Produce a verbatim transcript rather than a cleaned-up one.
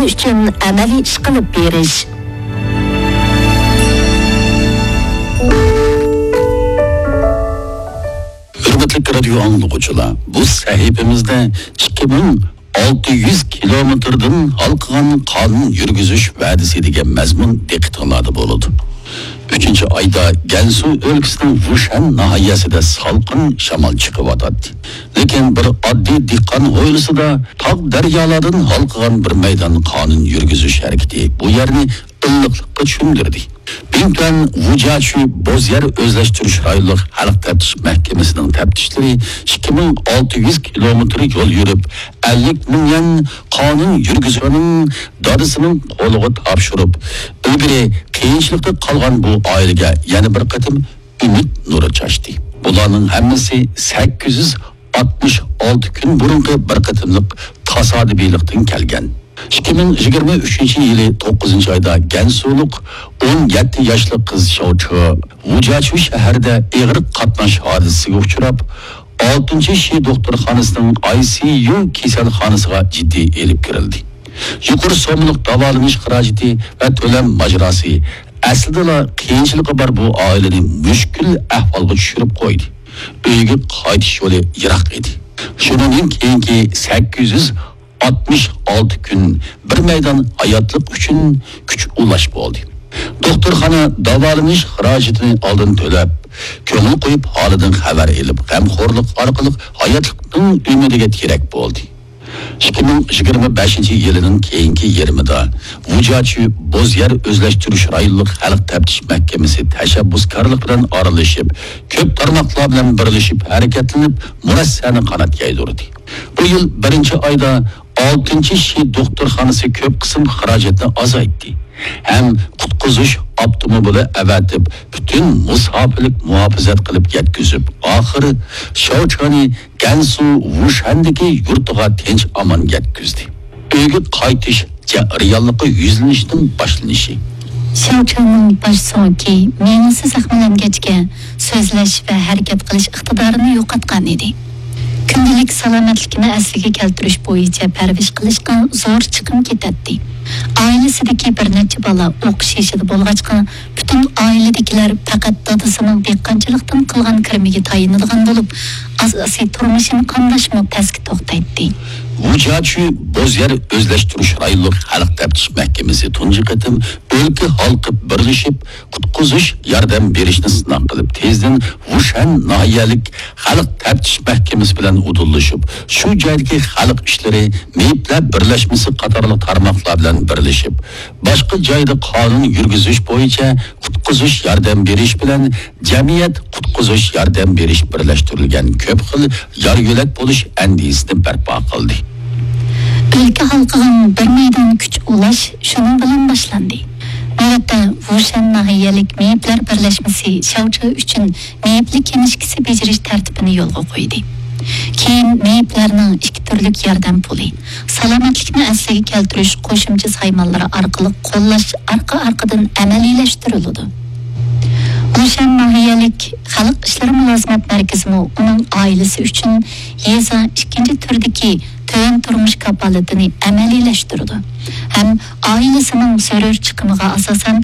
ئۈچۈن ئەمەلىي ئىش قىلىپ بېرىش. ھۆرمەتلىك رادىيو ئاڭلىغۇچىلار، بۇ سەھىپىمىزدە ئىككى مىڭ ئالتە يۈز كىلومېتىردىن ھالقىغان قانۇن يۈرگۈزۈش ۋەدىسى دېگەن مەزمۇن دىققىتىڭلاردا بولىدۇ. ئۈچىنچى ئايدا گەنسۇ ئۆلكىسىنىڭ ۋۇشەن ناھىيەسىدە سالقىن شامال چىقىۋاتاتتى. لېكىن بىر ئاددىي دېھقان ھويلىسىدا تاغ دەريالاردىن ھالقىغان بىر مەيدان قانۇن يۈرگۈزۈش ھەرىكىتى بۇ يەرنى ئىللىقلىققا چۆمدۈردى. بىڭتۈەن ۋۇجياچۈ بوز يەر ئۆزلەشتۈرۈش رايونلۇق خەلق تەپتىش مەھكىمىسىنىڭ تەپتىشلىرى ئىككى مىڭ ئالتە يۈز كىلومېتىر يول يۈرۈپ، ئەللىك مىڭ يۈەن قانۇن يۈرگۈزۈشنىڭ دادىسىنىڭ قولىغا تاپشۇرۇپ، ئىلگىرى قىيىنچىلىقتا قالغان بۇ ئائىلىگە يەنە بىر قېتىم ئۈمىد نۇرى چاچتى. بۇلارنىڭ ھەممىسى سەككىز يۈز ئاتمىش ئالتە كۈن بۇرۇنقى بىر قېتىملىق تاسادىپىيلىقتىن كەلگەن. ئىككى مىڭ يىگىرمە ئۈچىنچى يىلى توققۇزىنچى ئايدا گەنسۇلۇق ئون يەتتە ياشلىق قىز شاۋچې ۋۇجياچۈ شەھىرىدە ئېغىر قاتناش ھادىسىسىگە ئۇچراپ، ئالتىنچى شى دوختۇرخانىسىنىڭ ئاي سى يۇ كېسەلخانىسىغا جىددىي ئېلىپ كىرىلدى. يۇقىرى سوممىلىق داۋالىنىش خىراجىتى ۋە تۆلەم ماجىراسى ئەسلىدىلا قىيىنچىلىقى بار بۇ ئائىلىنى مۈشكۈل ئەھۋالغا چۈشۈرۈپ قويدى. ئۆيگە قايتىش يولى يىراق ئىدى. شۇنىڭدىن كېيىنكى سەككىز يۈز ئاتمىش ئالتە كۈن بىر مەيدان ھاياتلىق ئۈچۈن كۈچ ئۇلاش بولدى. دوختۇرخانا داۋالىنىش خىراجىتىنى ئالدىن تۆلەپ، كۆڭۈل قويۇپ ھالىدىن خەۋەر ئېلىپ، غەمخورلۇق ئارقىلىق ھاياتلىقنىڭ ئۈمىدىگە تىرەك بولدى. ئىككى مىڭ يىگىرمە بەشىنچى يىلىنىڭ كېيىنكى يېرىمىدا ۋۇجياچۈ بوز يەر ئۆزلەشتۈرۈش رايونلۇق خەلق تەپتىش مەھكىمىسى تەشەببۇسكارلىق بىلەن ئارىلىشىپ، كۆپ تارماقلار بىلەن بىرلىشىپ ھەرىكەتلىنىپ، مۇرەسسەنى قانات يايدۇردى. بۇ يىل بىرىنچى ئايدا ئالتىنچى شى دوختۇرخانىسى كۆپ قىسىم خىراجەتنى ئازايتتى ھەم قۇتقۇزۇش ئاپتوموبىلى ئەۋەتىپ، پۈتۈن مۇساپىلىك مۇھاپىزەت قىلىپ يەتكۈزۈپ، ئاخىرى شاۋچېنى گەنسۇ ۋۇشەندىكى يۇرتىغا تىنچ ئامان يەتكۈزدى. ئۆيگە قايتىش جەريانلىقى يۈزلىنىشنىڭ باشلىنىشى. شياۋچىنىڭ باش سۆڭىكى مېڭىسى زەخىملەنگەچكە، سۆزلەش ۋە ھەرىكەت قىلىش ئىقتىدارىنى يوقاتقان ئىدى. كۈندىلىك سالامەتلىكىنى ئەسلىگە كەلتۈرۈش بويىچە پەرۋىش قىلىشقا زور چىقىم كېتەتتى. ئائىلىسىدىكى بىر نەچچە بالا ئوقۇش يېشىدا بولغاچقا، پۈتۈن ئائىلىدىكىلەر پەقەت دادىسىنىڭ دېھقانچىلىقتىن قىلغان كىرىمىگە تايىنىدىغان بولۇپ، ئاساسىي تۇرمۇشىنى قامداشمۇ پەسكە توختايتتى. ۋۇجياچۈ بوز يەر ئۆزلەشتۈرۈش رايونلۇق خەلق تەپتىش مەھكىمىسى تۇنجى قېتىم ئۆلكە ھالقىپ بىرلىشىپ، قۇتقۇزۇش ياردەم بېرىشنى سىناق قىلىپ، تېزدىن ۋۇشەن ناھىيەلىك خەلق تەپتىش مەھكىمىسى بىلەن ئۇدۇللىشىپ، شۇ جايدىكى خەلق ئىشلىرى، مېيىپلەر بىرلەشمىسى قاتارلىق تارماقلار بىلەن بىرلىشىپ، باشقا جايدا قانۇن يۈرگۈزۈش بويىچە قۇتقۇزۇش ياردەم بېرىش بىلەن جەمئىيەت قۇتقۇزۇش ياردەم بېرىش بىرلەشتۈرۈلگەن كۆپ خىل يار يۆلەك بولۇش ئەندىزىسىنى بەرپا قىلدى. ئۆلكە ھالقىغان بىر مەيدان كۈچ ئۇلاش شۇنىڭ بىلەن باشلاندى. نۆۋەتتە، ۋۇشەن ناھىيەلىك مېيىپلەر بىرلەشمىسى شياۋچې ئۈچۈن مېيىپلىك كىنىشكىسى بېجىرىش تەرتىپىنى يولغا قويدى. كېيىن مېيىپلەرنىڭ ئىككى تۈرلۈك ياردەم پۇلى، سالامەتلىكنى ئەسلىگە كەلتۈرۈش قوشۇمچە سايمانلىرى ئارقىلىق قوللاش ئارقا-ئارقىدىن ئەمەلىيلەشتۈرۈلىدۇ. ۋۇشەن ناھىيەلىك خەلق ئىشلىرى مۇلازىمەت مەركىزىمۇ ئۇنىڭ ئائىلىسى ئۈچۈن يېزا ئىككىنچى تۈردىكى تۆۋەن تۇرمۇش كاپالىتىنى ئەمەلىيلەشتۈرىدۇ ھەم ئائىلىسىنىڭ زۆرۈر چىقىمىغا ئاساسەن